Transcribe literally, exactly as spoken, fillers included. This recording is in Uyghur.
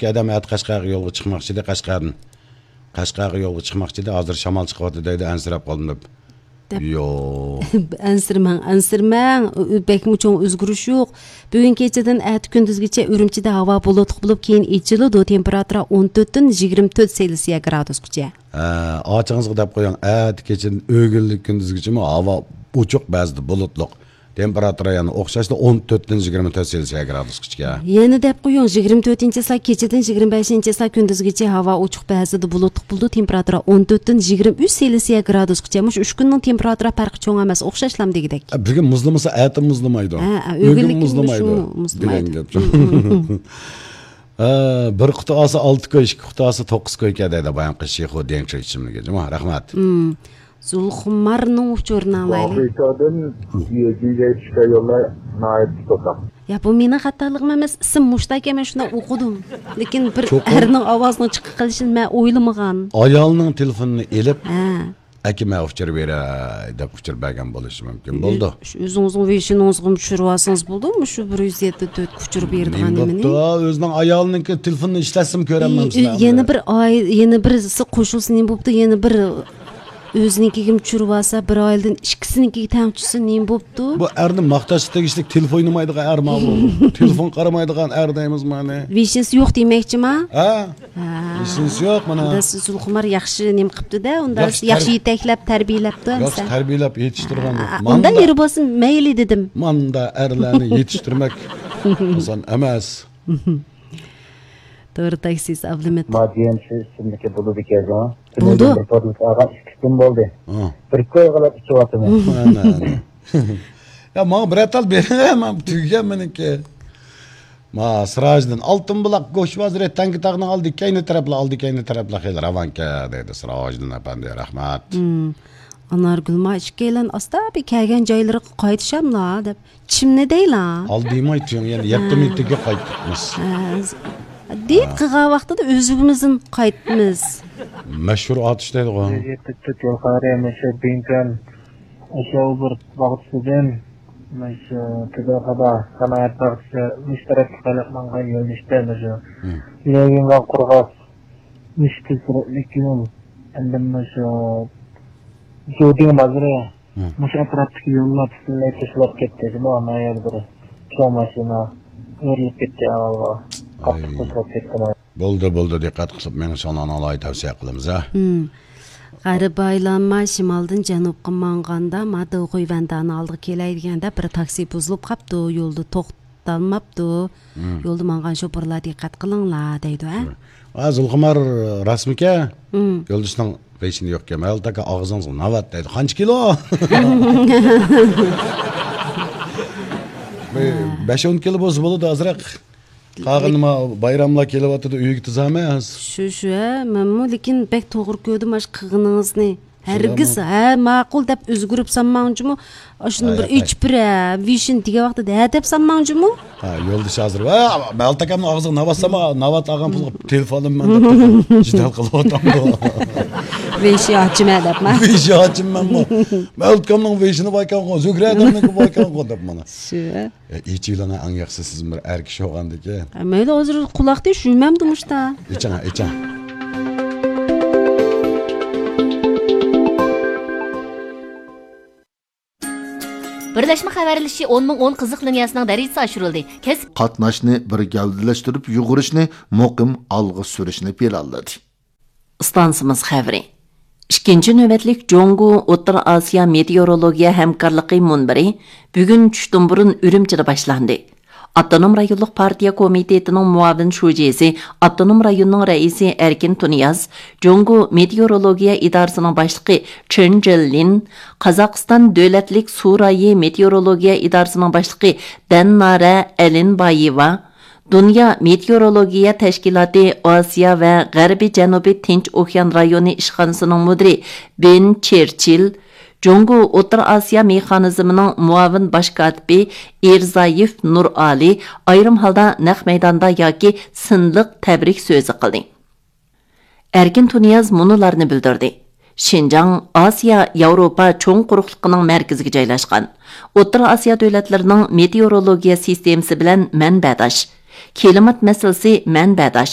ئادەم ئەتە قەشقەرگە يولغا چىقماقچى ئىدى، قەشقەردىن. قەشقەرگە يولغا چىقماقچى ئىدى، ھازىر شامال چىقىۋاتىدۇ دەيدۇ، ئەنسىرەپ قالدىم دەپ. دەپ. يوق. ئەنسىرىمەڭ، ئەنسىرىمەڭ. ئۆ-، بەكمۇ چوڭ ئۆزگىرىش يوق. بۈگۈن كېچىدىن ئەتە كۈندۈزگىچە ئۈرۈمچىدە ھاۋا بۇلۇتلۇق بولۇپ، كېيىن ئېچىلىدۇ. تېمپېراتۇرا ئون تۆتتىن يىگىرمە تۆت سېلسىيە گرادۇسقىچە. ھە، ئاچىڭىزغا دەپ قويۇڭ، ئەتە كېچىدىن ئۆگۈنلۈك كۈندۈزگىچىمۇ ھاۋا ئوچۇق، بەزىدە بۇلۇتلۇق. تېمپېراتۇرا يەنە ئوخشاشلا ئون تۆتتىن يىگىرمە تۆت سېلسىيە گرادۇسقىچە. يەنە دەپ قويۇڭ، يىگىرمە تۆتىنچى چىسلا كېچىدىن يىگىرمە بەشىنچى چىسلا كۈندۈزگىچە ھاۋا ئوچۇق، بەزىدە بۇلۇتلۇق بولىدۇ. تېمپېراتۇرا ئون تۆتتىن يىگىرمە ئۈچ سېلسىيە گرادۇسقىچە. مۇشۇ ئۈچ كۈننىڭ تېمپېراتۇرا پەرقى چوڭ ئەمەس، ئوخشاشلام دېگۈدەك. بۈگۈن مۇزلىمىسا، ئەتە مۇزلىمايدۇ. ھە، ھە، بۈگۈن ئۆگۈنلۈككە مۇزلىمايدۇ مۇشۇ مۇزلىمايدۇ. دېگەن گەپ. ھە، بىر قۇتا ئالسا ئالتە كوي، ئىككى قۇتا ئالسا توققۇز كوي كەدەيدە بايانقى شىخۇ دېڭچۇ ئىچىملىكى. جۇمۇ، رەھمەت. زۇلخۇمارنىڭ ئۇچۇرىنى ئالايلى. ۋاقىتادىن يېزىگە چۈشكەن يوللار ناھايىتى توساق. يا، بۇ مېنىڭ خاتالىقىم ئەمەس، ئىسىم مۇشتاكى، مەن شۇنداق ئوقۇدۇم. لېكىن بىر چوقۇم ئەرنىڭ ئاۋازىنىڭ چىقىپ قېلىشىنى مەن ئويلىمىغان. ئايالنىڭ تېلېفونىنى ئېلىپ، ھە، ئەكە، مەن ئۇچۇر بېرەي دەپ ئۇچۇر بەرگەن بولۇشى مۇمكىن. بولدى. ئۆ-، ئۆزىڭىزنىڭ ۋېيشىنىڭىزغىمۇ چۈشۈرۈۋالسىڭىز بولدىمۇ، شۇ بىر يۈز يەتتە تۆتكە ئۇچۇر بېرىدىغان نېمىنى؟ بوپتۇ؟ ئۆزىنىڭ ئايالىنىڭكى تېلېفونىنى ئىشلەتسىمۇ كۆرەلمەمسىلەر ئى، ئى، يەنە بىر ئاي-، يەنە بىرسى قوشۇلسا نېمە بوپتۇ؟ يەنە بىر ئۆزىنىڭكىگىمۇ چۈشۈرۈۋالسا، بىر ئائىلىدىن ئىككىسىنىڭكىگە تەڭ چۈشسە نېمە بوپتۇ؟ بۇ ئەرنى ماختاشقا تېگىشلىك تېلېفون ئوينىمايدىغان ئەر ماۋۇ. تېلېفون قارىمايدىغان ئەر دەيمىز مانا. ۋېيشىنسى يوق دېمەكچىما؟ ھە؟ ھە. ۋېيشىنسى يوق مانا. ئۇندا سىز زۇلخۇمار ياخشى نېمە قىپتۇ-دە، ئۇندا ياخشى، ياخشى تەر-، يېتەكلەپ، تەربىيەلەپتۇ ياخشى ئەمسە. تەربىيەلەپ يېتىشتۈرگەن. ھە، بۇ ئۇنداق ماندا ئېرى بولسا مەيلى دېدىم. ماندا ئەرلەرنى يېتىشتۈرمەك ئاسان ئەمەس. توغرا تاكسىست ئابلىمىت. ما جي ئېم سى ئىسىملىكى بولىدىكەن. بولىدۇ. بىر پودلۇق ئالغان ئىككى كۈن بولدى. ھە. بىر كوي قىلىپ ئىچىۋاتىمەن. ئەنە، ئەنە. يا، ماڭا بىرەر تال بېرىڭە، مانا تۈگىگەن مېنىڭكى. ما، سىراجدىن، ئالتۇن بۇلاق گۆش بازىرى، تەڭكە تاغنىڭ ئالدى كەينى تەرەپلا، ئالدى كەينى تەرەپلا خېلى راۋانكەن، دەيدۇ سىراجدىن ئەپەندى، رەھمەت. ھىم. ئانارگۈلمۇ ئىككىيلەن ئاستا بىر كەلگەن جايلىرىغا قايتىشاملا دەپ. چىمنى دەيلا. ئالدىماي تۇيۇڭ، يەنە يەتتە ھە. مىنۇتتىكى قايتىمىز. ھە. دېيىپ قىلغان ۋاقتىدا ئۆزىمىزدىن قايتىمىز. مەشھۇر ئاتۇش دەيدىغۇ. يەتتە تۆت يۇقىرى مەشھۇر بىڭتۈەن ئاشياۋبېرگ باغچىسىدىن، مەشھۇر تېبەخادا سانائەت باغچىسى مۇشۇ تەرەپكە قاراپ ماڭغان يۆنىلىشتە مەشھۇر. ھىم. ليەنگىڭغا قورغاس، مۇشۇ تېز سۈرئەتلىك يول. ئەمدى مۇشۇ جۇدىڭ بازىرى. ھىم. مۇشۇ ئەتراپتىكى يوللار پۈتۈنلەي توسۇلۇپ كەتتى. جۇمۇ، ئانا يەر بىر چوڭ ماشىنا ئۆرۈلۈپ كەتتى ئاۋۋالغا. قاتتىق ئاي. توسۇلۇپ كەتتى. بولدى، بولدى، دىققەت قىلىپ مېڭىشىڭلارنى ئالاھىدە تەۋسىيە قىلىمىز، ھە. ھىم. غەرىبى ئايلانما شىمالدىن جەنۇبقا ماڭغاندا، ما دېغۇيۋەندانىڭ ئالدىغا كېلەي دېگەندە، بىر تاكسى بۇزۇلۇپ قاپتۇ، يولدا توختالماپتۇ. ھىم. يولدا ماڭغان شوپۇرلار دىققەت قىلىڭلار دەيدۇ، ھە. ھە، زۇلخۇمار راستمىكەن؟ ھىم. يولدىشىنىڭ ۋېيشىنى يوقكەن. مەلۇل ئاكا، ئاغزىڭىزغا ناۋات دەيدۇ. قانچە كىلو؟ بىر بەش ئون كىلو بولسا بولىدۇ ئازراق. قالغىنى ما بايراملار كېلىۋاتىدۇ، ئۆيگە تىزامەن. شۇ، شۇ، ھە، مەنمۇ لېكىن بەك توغرا كۆردۈم ئاشۇ قىلغىنىڭىزنى. ھەرگىز، ھە، ماقۇل دەپ ئۆزگۈرۈپ سالماڭ جۇمۇ. ئاشۇنى ھە، بىر ياق، ئېچىپ بېرە، ۋېيشىن دېگەن ۋاقتىدا ھە دەپ سالماڭ جۇمۇ. ھە، يولدىشى ھازىر، ۋە، مەلۇل ئاكامنىڭ ئاغزىغا ناۋات سالما، ناۋات ئالغان پۇلغا تېلېفون ئالىمەن دەپ جېدەل قىلىۋاتامدۇ. ۋېيشى ئاچىمەن دەپما. ۋېيشى ئاچىمەنمۇ. مەلۇل ئاكامنىڭ ۋېيشىنى باركەنغۇ، زۆھرە ئاكامنىڭكى باركەنغۇ دەپ مانا. شۇ. ئېچىۋېلىڭە ئەڭ ياخشىسى، سىز بىر ئەر كىشى بولغاندىكىن. ھە، مەيلى، ھازىر قۇلاقنى يۇمامدۇ مۇشتا. ئېچىڭە، ئېچىڭە. بىرلەشمە خەۋەرلىشىشى ئون مىڭ ئون قىزىق لىنىيەسىنىڭ دەرىجىسى ئاشۇرۇلدى. كەسىپ قاتناشنى بىر گەۋدىلەشتۈرۈپ يۇغۇرۇشنى مۇقىم ئالغا سۈرۈشنى پىلانلىدى. ئىستانسىمىز خەۋىرى. ئىككىنچى نۆۋەتلىك جۇڭگو ئوتتۇرا ئاسىيا مېتېئورولوگىيە ھەمكارلىقى مۇنبىرى بۈگۈن چۈشتىن بۇرۇن ئۈرۈمچىدە باشلاندى. ئاپتونوم رايونلۇق پارتىيە كومىتېتىنىڭ مۇئاۋىن شۇجىسى، ئاپتونوم رايوننىڭ رەئىسى ئەركىن تۇنىياز، جۇڭگو مېتېئورولوگىيە ئىدارىسىنىڭ باشلىقى چېن جېللىن، قازاقىستان دۆلەتلىك سۇ رايى مېتېئورولوگىيە ئىدارىسىنىڭ باشلىقى دەننارە ئەلىنبايېۋا، دۇنيا مېتېئورولوگىيە تەشكىلاتى ئاسىيا ۋە غەربىي جەنۇبىي تىنچ ئوكيان رايونى ئىشخانىسىنىڭ مۇدىرى بېن چېرچىل، جۇڭگو ئوتتۇرا ئاسىيا مېخانىزمىنىڭ مۇئاۋىن باش كاتىپى ئىرزايېف نۇرئالى ئايرىم ھالدا نەق مەيداندا ياكى سىنلىق تەبرىك سۆزى قىلدى. ئەركىن تۇنىياز مۇنۇلارنى بىلدۈردى: شىنجاڭ ئاسىيا ياۋروپا چوڭ قۇرۇقلۇقىنىڭ مەركىزىگە جايلاشقان. ئوتتۇرا ئاسىيا دۆلەتلىرىنىڭ مېتېئورولوگىيە سىستېمىسى بىلەن مەنبەداش. كىلىمات مەسىلىسى مەنبەداش.